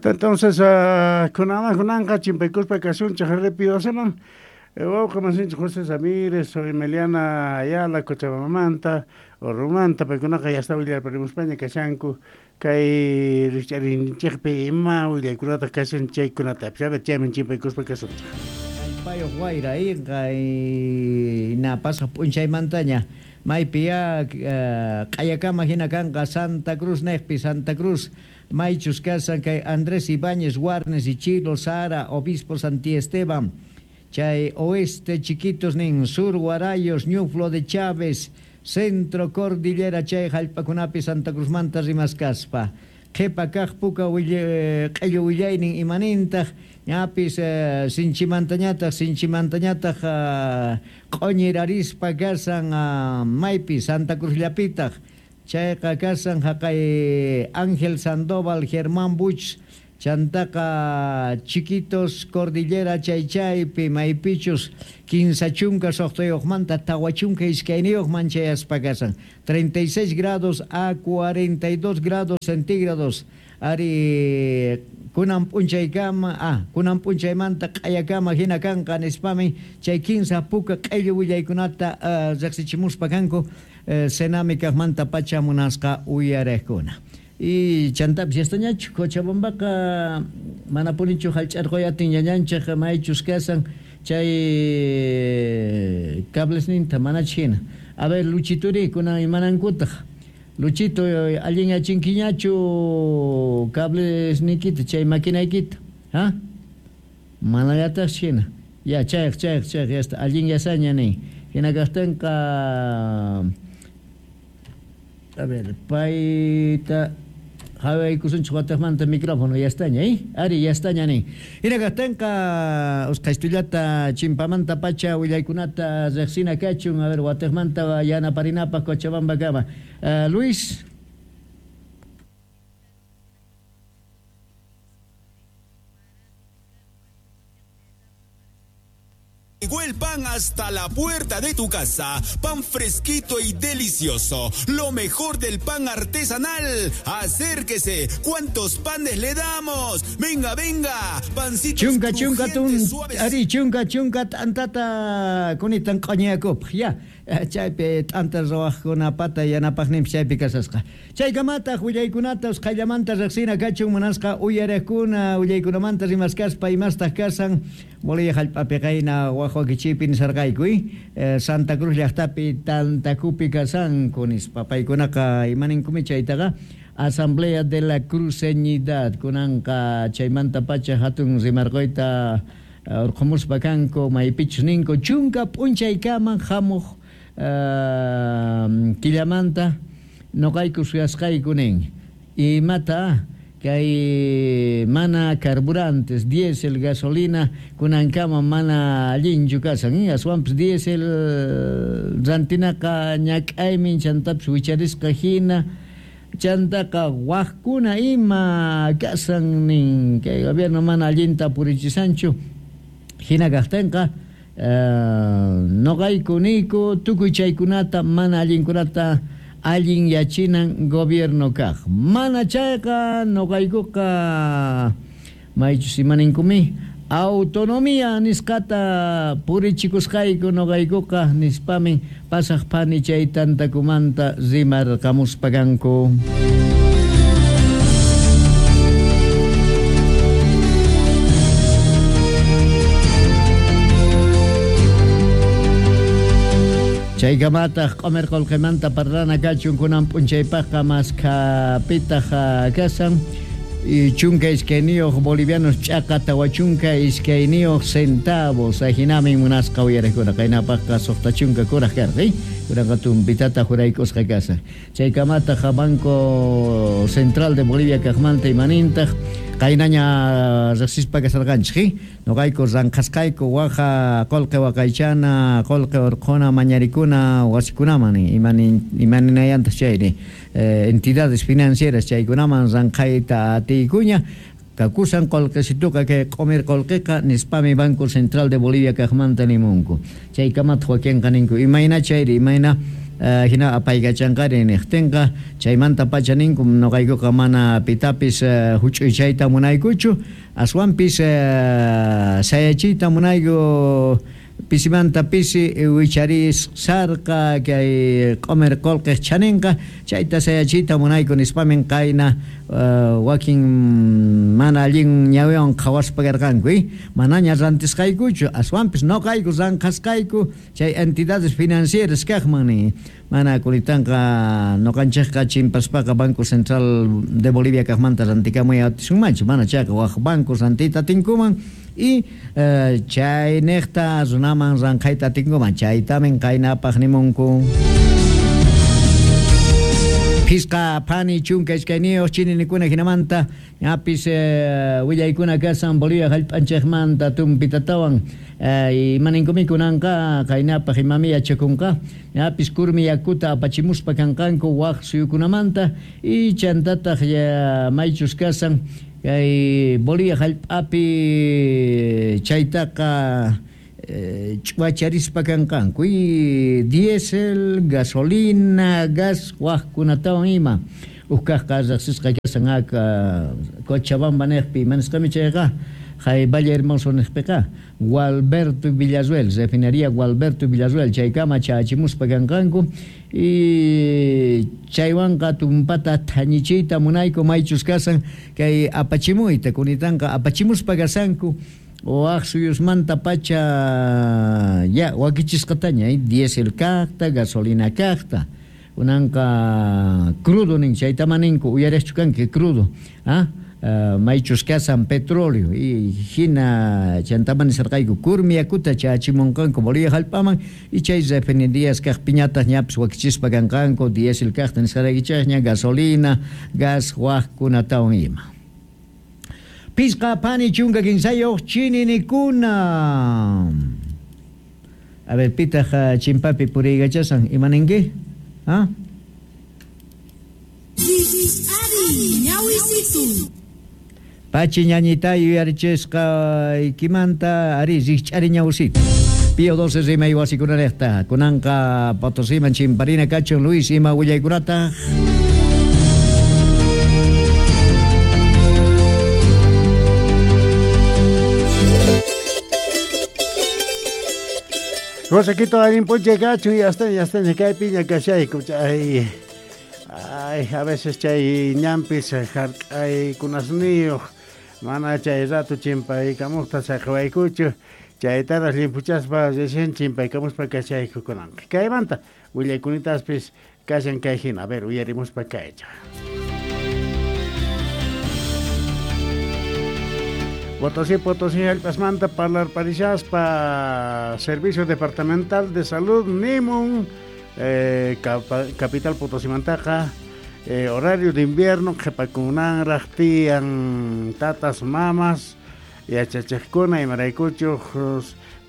Entonces kunama kunanqa chimpaykuspa kasunchik RP12man wawqa masinchik José Ramírez, Emiliana Ayala, Cochabambamanta, Orromanta, paykunaqa yasta willarparimuspaña kashanku kay rikch'arinchikpi ima willaykunataq kashan chaykunata chayman chimpaykuspa kasunchik. Kallpayuq wayra na pasaq p'unchaymantaña maypi ya q'ayakama hina kanqa Santa Cruz niqpi Santa Cruz maychus kasan kay Andrés Ibáñez Warnes Ichilo Sara Obispo Santiesteban chay oeste Chiquitos nin sur Guarayos Ñuflo de Chávez centro Cordillera chay hallp'akunapi Santa Cruzmanta rimaskaspa qhipa kaq puka q'illu willaynin imanintaq ñapis sinchimantañataq sinchimantañataq q'uñirarispa kasan maypi Santa Cruzllapitaq chayqa kasan haqay Ángel Sandoval Germán Buch chantaqa Chiquitos Cordillera chay chaypi maypichus 15 suqtayuqmanta 42 chayaspa kasan 36 grados a 42 grados centígrados ari kunan p'unchaykama kunan p'unchaymanta q'ayakama hina kanqa nispami chay 15 puka q'illu willaykunata riqsichimuspa kanku Senami kaqmanta pacha munasqa uyariqkuna. Y chantapis yastañachu Cochabambaqa mana punichu hallch'arquyatin ñañanchik maychus kasan chay cablesninta manach hina. A ver Luchituri kunan imanankutaq Luchito allin yachinkiñachu cablesniykita chay maquinaykita ha manallataq hina ya chayq chayq chayq yasta allin yasaña nin hina kaqtinqa a ver payta hawaykusunchik wataqmanta micrófono yastaña ari yastaña nin hina kaqtinqa usqhaystullata chimpamanta pacha willaykunata riqsina kachun a ver wataqmanta yanaparinapaq Cochabambakama Luis. Llegó el pan hasta la puerta de tu casa. Pan fresquito y delicioso. Lo mejor del pan artesanal. Acérquese. ¿Cuántos panes le damos? Venga, venga. Pancitos chunka, chunka, tun, ari, chunka, chunka, t'antata kunitan q'uñakupaq. Ya. Chaypi t'anta ruwaqkunapata yanapaqninpis chaypi kasasqa. Chaykamataq willaykunata usqhayllamanta riqsina kachun munasqa uyariqkuna willaykunamanta rimaskaspa imastaq kasan Bolivia hallp'api qayna waqwakichiypi nisarqayku Santa Cruz llaqtapi tantakupi kasanku nispa paykunaqa imaninkumi chaytaqa Asamblea de la Cruceñidad kunanqa chaymanta pacha hatun rimarquyta urqumuspa kanku maypichus ninku chunka p'unchaykama hamuq killamanta noqayku suyasqayku nin imata kay mana carburantes diésel gasolina kunankama mana allinchu kasan aswanpis diésel rantinaqa ñak'aymin chantapis wicharisqa hina chantaqa waqkuna ima kasan nin kay gobierno mana allinta purichisanchu hina kaqtinqa noqayku niyku tukuy chaykunata mana allinkunata allin yachinan gobierno kaq mana chayqa noqaykuqa maychus imaninkumi autonomía nisqata purichikusqayku noqaykuqa nispamin pasaq phani chay tantakumanta rimarqamuspa kanku. Chaykamataq q'umir qullqimanta parlana kachun kunan p'unchaypaqqa maskhapitaq kasan 12 bolivianos ch'aqa 42 centavos ajinamin munasqa uyariqkuna qaynapaqqa 60 kuraq karqa kunanqa tumpitata juraykusqa kasan chaykamataq Banco Central de Bolivia kaqmanta imanintaq qaynaña riqsispa kasarqanchik noqayku ranqhasqayku waqa qullqi waqaychana qullqi urqhuna mañarikuna wasikunaman imaninayantaq chayri entidades financieras chaykunaman ranqhayta atiykuña kakusan qullqisituqa kay q'umir qullqiqa nispami Banco Central de Bolivia kaqmanta nimunku chaykamataq wakinqa ninku imayna chayri imayna Hina apaykachanqari niqtinqa chaymanta pacha ninku nuqaykuqa mana pitapis huch'uychayta munaykuchu aswanpis sayachiyta munayku pisimanta pisi wicharis sarqa kay q'umir qullqiq chaninqa chayta sayachiyta munayku nispamin qayna wakin mana allin ñawiwan qhawaspa karqanku manaña rantisqaykuchu aswanpis nuqayku ranqasqayku chay entidades financieras kaqman nin mana kunitanqa nuqanchikqa chimpaspaqa Banco Central de Bolivia kaqmanta rantikamuy atisunmanchu mana chayqa waq banco rantiyta atinkuman y chay niqta runaman ranqayta atinkuman chaytamin qaynapaq nimunku. Phisqa phani chunka iskayniyuq chininikuna hinamanta ñapis willaykuna kasan Bolivia hallp'anchikmanta tumpitatawan imaninkum kunanqa qaynapaq imami yachakunqa ñapis kurmi yakuta apachimuspa kanqanku waq suyukunamanta y chantataq maychus kasan kay Bolivia hallp'api chaytaqa ch'uwacharispa kanqanku y diésel, gasolina, gas waqkunatawan ima ukkaqqa riqsisqa kasan aka Cochabamba niqpi imanisqami chayqa hay Valle Hermoso niqpiqa Gualberto Villarruel, refinería Gualberto Villarruel chaykama chachimuspa kanqanku y chaywanqa tumpata thañichiyta munayku maychus kasan kay apachimuyta kunitanqa apachimuspa kasanku waq suyusmanta pacha ya wakichisqataña diésel kaqta, gasolina kaqta kunanqa crudo nin chaytama ninku uyariqchu kanki crudo maychus kasan petróleo y hina chantaman nisarqayku kurmi yakuta chachimunqanku Bolivia hallp'aman y chay refinerías kaqpiñataq ñapis wakichispa kanqanku diésel kaqta nisqaraykichikña gasolina, gas waqkunatawan ima. Pisqa phani chunka kinsayuq chininikuna. A ver, pitaq chimpapi puriykachasan imaninki? ¿Ah? Pachi ñañita yuyarichisqa ikimanta ari rikch'ari ñawsita. Pío 12 rimay wasikunaraqta kunanqa Potosiman chimparina kachun Luis ima willaykunata. Josequito allin p'unchay kachun y hasta kaypiña kashayku chay ay a veces chay ñampis hark'aykunasniyuq mana chay rato chimpaykamuqta saqawaykuchu chaytaraq llimpuchaspa recién chimpaykamuspa kashayku kunanqa kaymanta willaykunitaspis kashan kay hina a ver uyarimuspa kaycha. Potosí, Potosí, hallp'asmanta parlarparishaspa Servicio Departamental de Salud nimun Capital Potosimantaqa horario de invierno qhipakunanraq tiyan tatas mamas yachachiqkuna imaraykuchuq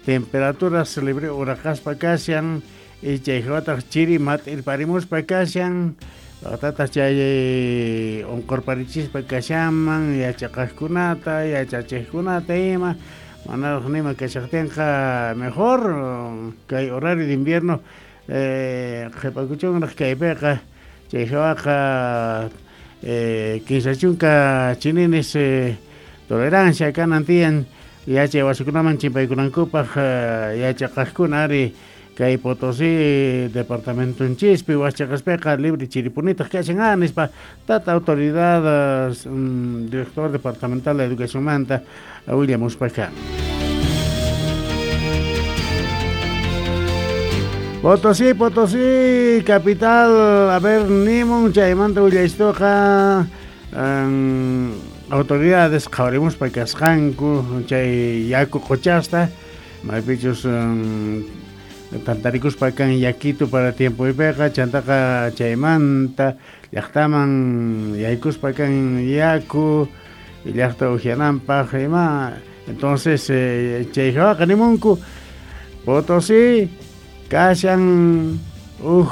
temperaturas libre uraqaspa kashan y chayhawataq chiri mat'irparimuspa kashan tata chay unqurparichispa kashanman yachaqaqkunata yachachiqkunata ima manaraq nima kashaqtinqa mejor kay horario de invierno qhipakuchunraq kaypiqa chayhawaqa kinsa chunka chininis tolerancia kanan tiyan yachay wasikunaman chimpaykunankupaq yachaqaqkuna ari kay Potosí departamentonchispi waschaqaspiqa libre chiripunitaq kashan nispa tata autoridad director departamental de educación manta willamuspa kan. Potosí, Potosí, capital, a ver, nimun chaymanta willaystuqa autoridades qhawarimuspa kasqanku chay yaku quchasta maypichus tantarikuspa kan yakito para tiempoypiqa chantaqa chaymanta llaqtaman yaykuspa kan yaku llaqta uhiananpaq ima entonces chayhawaqa nimunku Potosí kashan huk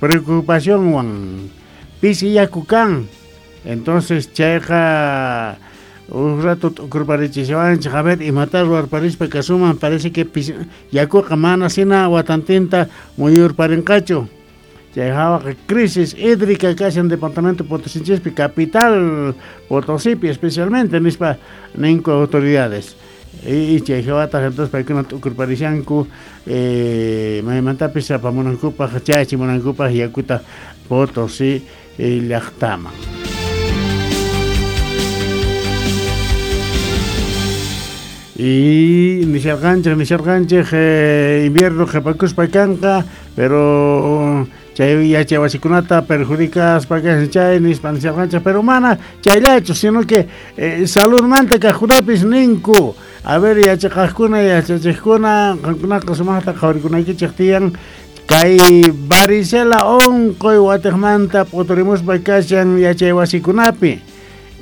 preocupacionwan pisi yaku kan entonces chayqa un rato t'ukurparichishawanchik a ver imata ruwarparispa kasuman parece que yakuqa mana hina watantinta muyurparinqachu Chay hawaqa crisis hídrica kashan departamento Potosinchispi, capital Potosipi especialmente, nispa ninku autoridades. Y chay hawataq entonces paykuna t'ukurparishanku maymantapis apamunankupaq chayachimunankupaq yakuta Potosí llaqtaman. Y nisharqanchik invierno qhipakuspa kanqa, pero chay yachaywasikunata perjudicaspa kashan chay nispa nisharqanchik, pero mana chayllachu, sino que saludmanta kaqkunapis ninku. A ver, yachaqaqkuna, yachachiqkuna, qankunaqa sumaqta qhawarikunaykichik tiyan kay varicela unquy watiqmanta p'uturimuspa kashan yachaywasikunapi.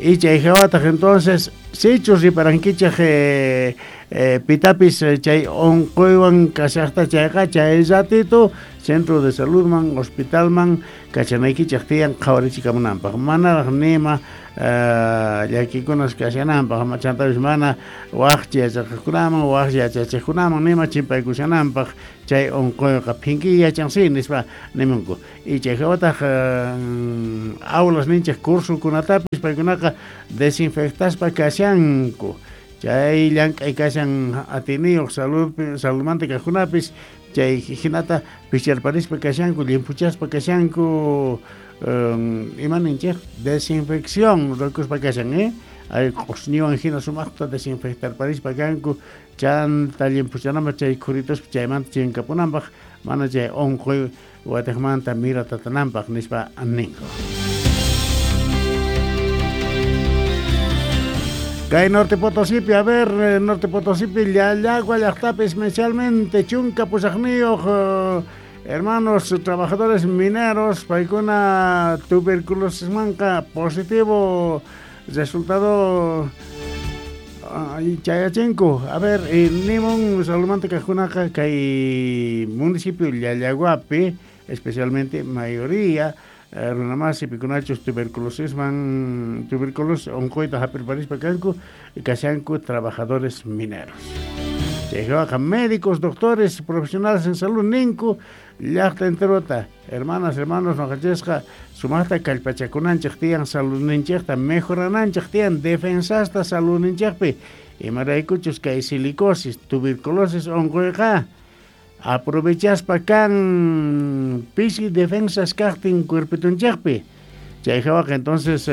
Y chay hawataq entonces sichus riparankichik pitapis chay unquywan kashaqta chayqa chay ratito centro de saludman, hospitalman kachanaykichik tiyan qhawarichikamunanpaq, manaraq nima llakikunas kashananpaq, chantapis mana waq yachaqkunaman, waq yachachiqkunaman nima chimpaykushananpaq chay unquyqa phinkiy yachansi nispa nimunku. Y chay hawataq aulas ninchik cursokunatapis paykunaqa desinfectaspa kashanku. Chay llank'ay kashan atiniyuq saludmanta kaqkunapis chay hinata picharparispa kashanku, llimpuchaspa kashanku, ima ninchik desinfección ruwakuspa kashan, Ay q'usñiwan hina sumaqta desinfectarparispa kanku, chanta llimpuchananpaq chay khurituspa chaymanta chinkapunanpaq, mana chay unquy watiqmanta miratatananpaq nispa ninku. Kay Norte Potosipi, a ver, Norte Potosipi, Llallagua llaqtapi especialmente chunka pusaqniyuq hermanos trabajadores mineros, paykuna tuberculosismanqa positivo resultado chayachinku. A ver, nimun saludmanta kaqkunaqa kay municipio Llallaguapi, especialmente mayoría runamasi pikunachus tuberculosisman, tuberculosis unquyta hap'irparispa kanku, kashanku trabajadores mineros. Chayqa médicos, doctores, profesionales en salud ninku llaqta enterota. Hermanas, hermanos, noqanchisqa sumaqta kallpachakunanchik tiyan saludninchikta mejorananchik tiyan defensasta saludninchikpi. Imaraykuchus kay silicosis, tuberculosis unquyqa aprovechaspa kan pisi defensas kaqtin cuerpitunchikpi. Chay hawaqa entonces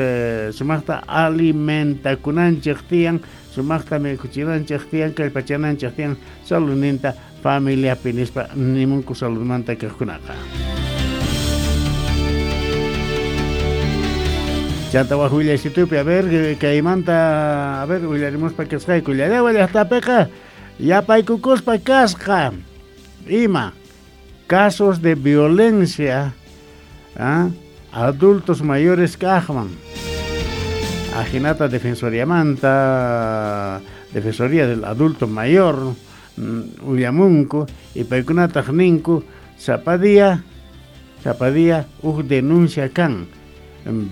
sumaqta alimentakunanchik tiyan, sumaqta mikhuchinanchik tiyan, kallpachananchik tiyan saludninta familiapi nispa nimunku saludmanta kaqkunaqa. Chanta waq willaysitupi, a ver, kaymanta, a ver, willarimuspa kasqayku Llallagua llaqtapiqa yapaykukuspa kasqa ima casos de violencia adultos mayores kaqman. Ajinata defensoriamanta, defensoría del adulto mayor, ullamunku y paykunataq ninku sapa día uj denuncia kan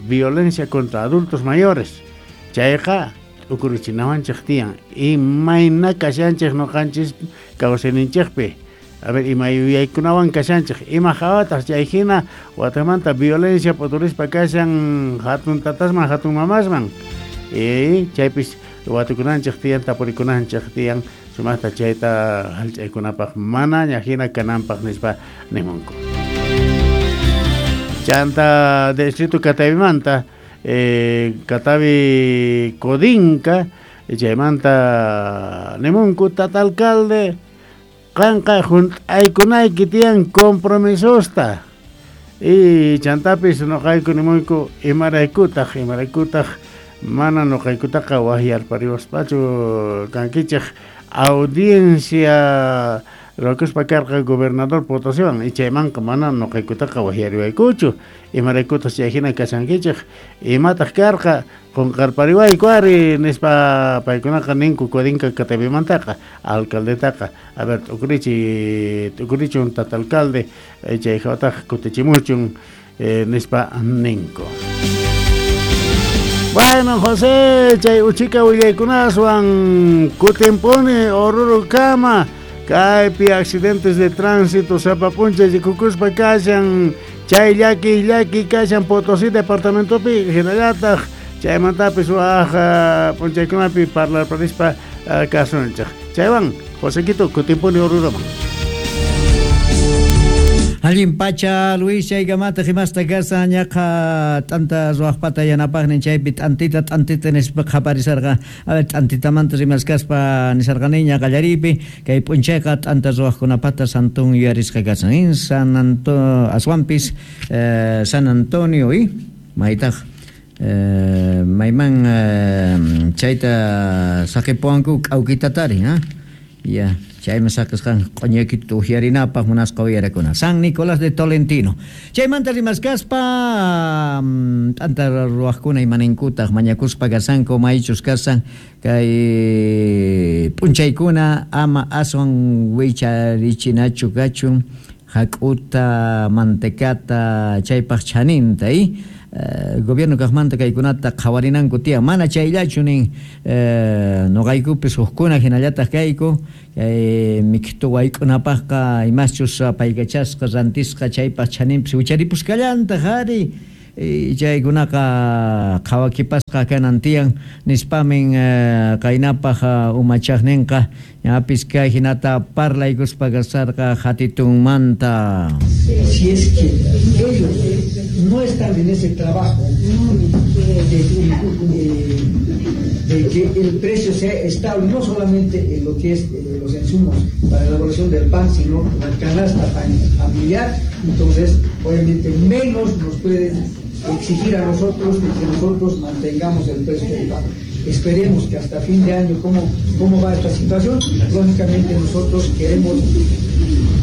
violencia contra adultos mayores. Chayqa t'ukuruchinawanchik tiyan imayna kashanchik noqanchis kawsayninchikpi. A ver, ima yuyaykunawan kashanchik, ima hawataq chay hina watamanta violencia p'uturispa kashan hatun tatasman, hatun mamasman. Y chaypis watukunanchik tiyan, tapurikunanchik tiyan sumaqta chayta hallch'aykunapaq manaña hina kananpaq nispa nimunku. Chanta distrito Catavimanta, Catavi Codinca, chaymanta nimunku tata alcalde qanqa junt'aykunayki tiyan compromisosta. Y chantapis noqayku nimuyku imaraykutaq mana noqaykutaqa waqyarpariwaspachu kankichik audiencia ruwakuspa karqa gobernador Potosiwan y chaymanqa mana noqaykutaqa waqyariwaykuchu imaraykutaq chay hina kashankichik imataq karqa qunqarpariwayku ari nispa paykunaqa ninku Codinca Catavimantaqa alcaldetaqa. A ver, t'ukurichun tata alcalde chay hawataq kutichimuchun nispa ninku. Bueno, José, chay uchika willaykunaswan kutinpuni Oruro kama kaypi accidentes de tránsito sapa p'unchay rikukuspa kashan. Chay llaki llaki kashan Potosí departamentopi hinallataq chaymantapis waj p'unchaykunapi parlarparispa kasunchik. Chaywan Josequito kutimpuni Oruraman. Allin pacha Luis chaykamata himasta kasa ñaqa t'anta ruwaqpata yanapaqnin chaypi t'antita t'antita nispa qhaparisarqa. A ver, t'antitamanta rimaskaspa nisarqaniña qallariypi kay p'unchayqa t'anta ruwaqkunapata santun yuyarisqa kasan. San Anto aswanpis San Antonio y maytaq mayman chayta saqipuwanku k'awkitatari, ha? Ya, chaymi saqisqan q'uñakita uqyarinapaq munasqa uyarakuna. San Nicolás de Tolentino. Chaymanta rimaskaspa t'anta ruwaqkuna imaninkutaq mañakuspa kasanku maychus kasan kay p'unchaykuna ama aswan wicharichinachu kachun hak'uta, mantecata, chaypaq chaninta, y gobierno kaqmanta kaykunata qhawarinanku tiyan mana chayllachu nin nuqaykupis hukkuna hinallataq kayku kay miktu wayk'unapaqqa imaschus apaykachasqa rantisqa chaypaq chaninpis wicharipusqallantaq ari chaykunaqa qhawakipasqa kanan tiyan nispamin qaynapaq umachaqninqa ñapis kay hinata parlaykuspa kasarqa hatitunmanta. Si es que ellos no están en ese trabajo de que el precio sea estable, no solamente en lo que es los insumos para la elaboración del pan, sino la canasta familiar, entonces obviamente menos nos pueden exigir a nosotros que nosotros mantengamos el precio del pan. Esperemos que hasta fin de año cómo va esta situación. Lógicamente nosotros queremos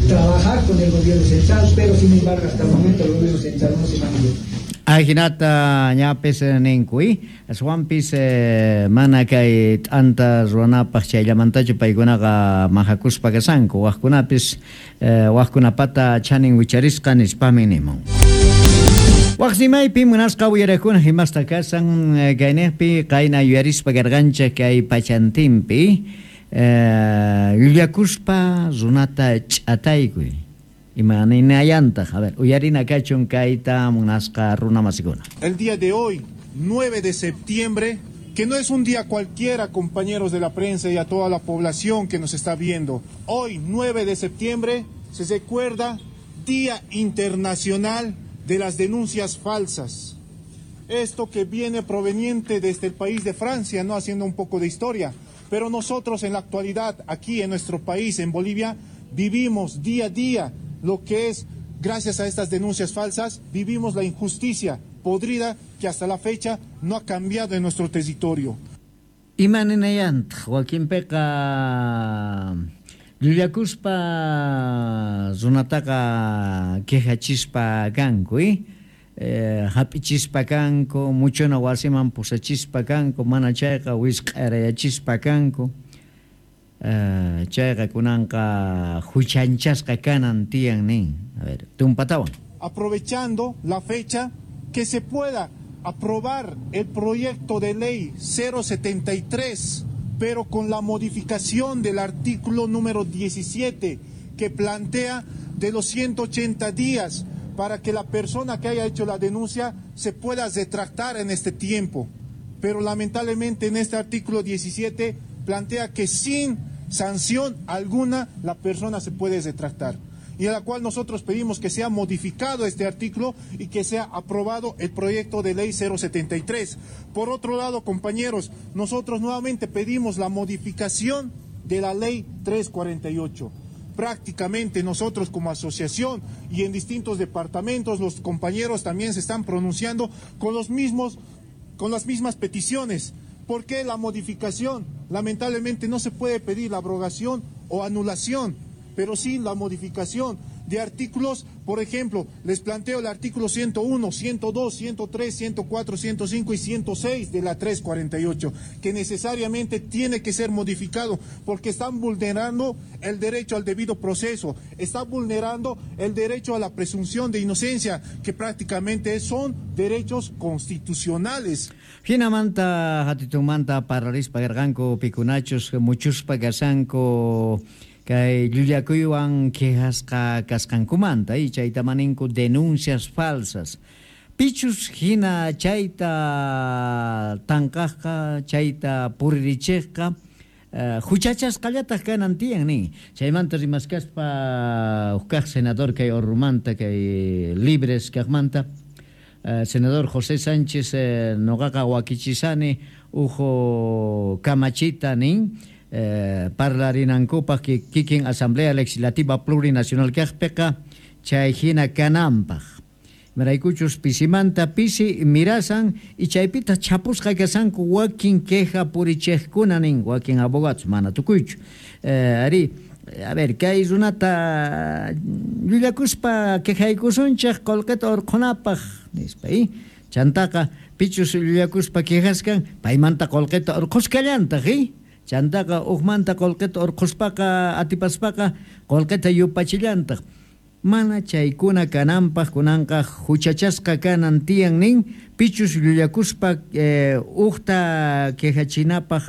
trabajar con el gobierno central, pero sin embargo hasta el momento el gobierno central no se manifiesta. Ajinata ñapis ninkuy, aswanpis mana kay t'anta ruwanapaq chayllamantachu paykunaqa mahakuspa kasanku, waqkunapis waqkunapata chanin wicharisqa nispami nimun. Waqsimaypi munasqa uyarakuna himasta kasan kayniqpi qayna yuyarispa karqanchik kay pachantinpi llullakuspa runata ch'ataykuy. Ima ninayantaq, a ver, uyarina kachun kayta munasqa runa masikuna. El día de hoy, 9 de septiembre, que no es un día cualquiera, compañeros de la prensa y a toda la población que nos está viendo. Hoy, 9 de septiembre, se recuerda Día Internacional de las Denuncias Falsas. Esto que viene proveniente desde el país de Francia, no haciendo un poco de historia, pero nosotros en la actualidad, aquí en nuestro país, en Bolivia, vivimos día a día lo que es, gracias a estas denuncias falsas, vivimos la injusticia podrida que hasta la fecha no ha cambiado en nuestro territorio. Ima ninayantaq wakinpiqa llullakuspa runataqa quejachispa kanku, hap'ichispa kanku, muchuna wasiman pusachispa kanku, mana chayqa wisq'arayachispa kanku. Chayqa kunanqa huchanchasqa kanan tiyan nin. A ver, tumpatawan. Aprovechando la fecha que se pueda aprobar el proyecto de ley 073, pero con la modificación del artículo número 17 que plantea de los 180 días para que la persona que haya hecho la denuncia se pueda retractar en este tiempo. Pero lamentablemente en este artículo 17 plantea que sin sanción alguna la persona se puede retractar, y a la cual nosotros pedimos que sea modificado este artículo y que sea aprobado el proyecto de ley 073. Por otro lado, compañeros, nosotros nuevamente pedimos la modificación de la ley 348. Prácticamente nosotros como asociación y en distintos departamentos, los compañeros también se están pronunciando con las mismas peticiones. ¿Por qué la modificación? Lamentablemente no se puede pedir la abrogación o anulación, pero sí la modificación de artículos. Por ejemplo, les planteo el artículo 101, 102, 103, 104, 105 y 106 de la 348, que necesariamente tiene que ser modificado porque están vulnerando el derecho al debido proceso, están vulnerando el derecho a la presunción de inocencia, que prácticamente son derechos constitucionales. Hinamanta hatitumanta parlarispa karqanku pikunachus muchuspa kasanku. Kay llullakuywan quejasqa kasqankumanta y chayta maninku denuncias falsas. Pichus hina chayta tanqaqqa, chayta puririchiqqa, huchachasqallataq kanan tiyan nin. Chaymanta rimaskaspa huk senador kay Orrumanta, kay Libres kaqmanta, senador José Sánchez, noqaqa wakichisani uhu kamachita nin, parlarinankupaq kikin Asamblea Legislativa Plurinacional kaqpiqa chay hina kananpaq. Maraykuchus pisimanta pisi mirasan y chaypita chapusqa kasanku wakin queja purichiqkuna nin, wakin abogados mana tukuychu. Ari, a ver, kay runata llullakuspa quejaykusunchik qullqita urqhunapaq nispa, Chantaqa pichus llullakuspa quejaskan paymanta qullqita urqhuskallantaq, Chantaqa uqmanta qullqita urqhuspaqa atipaspaqa qullqita yupachillantaq. Mana chaykuna kananpaq kunanqa huchachasqa kanan tiyan nin, pichus llullakuspa uqta quejachinapaq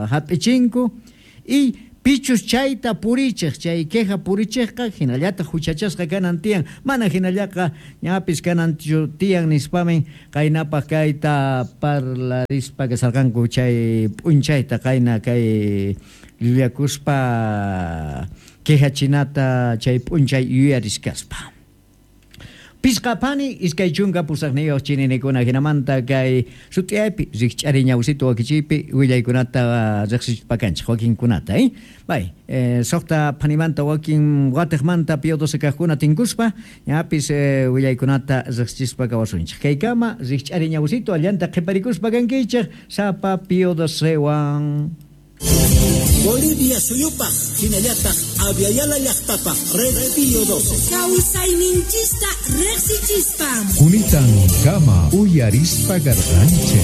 hap'ichinku y pichus chayta purichiq, chay queja purichiqqa hinallataq huchachasqa kanan tiyan, mana hinallaqa ñapis kanan tiyan nispamin qaynapaq kayta parlarispa kasarqanku chay p'unchayta qayna kay llullakuspa quejachinata chay p'unchay yuyariskaspa. Pisqapani 28 chininikuna hinamanta kay sut'iyaypi rikch'ari ñawsito wakichiypi willaykunata riqsispakanchik wakinkunata, Bay, suqta phanimanta wakin watiqmanta Pío XII kaqkuna tinkuspa ñapis willaykunata riqsispa kawasunchik. Kaykama rikch'ari ñawsito allanta qhiparikuspa kankichik sapa Pío XII-wan. Bolivia suyupaq hinallataq Aviala llaqtapaq Red Pío XII. Kawsayninchista riqsichispa. Kunitan kama uyarispa garqanchik.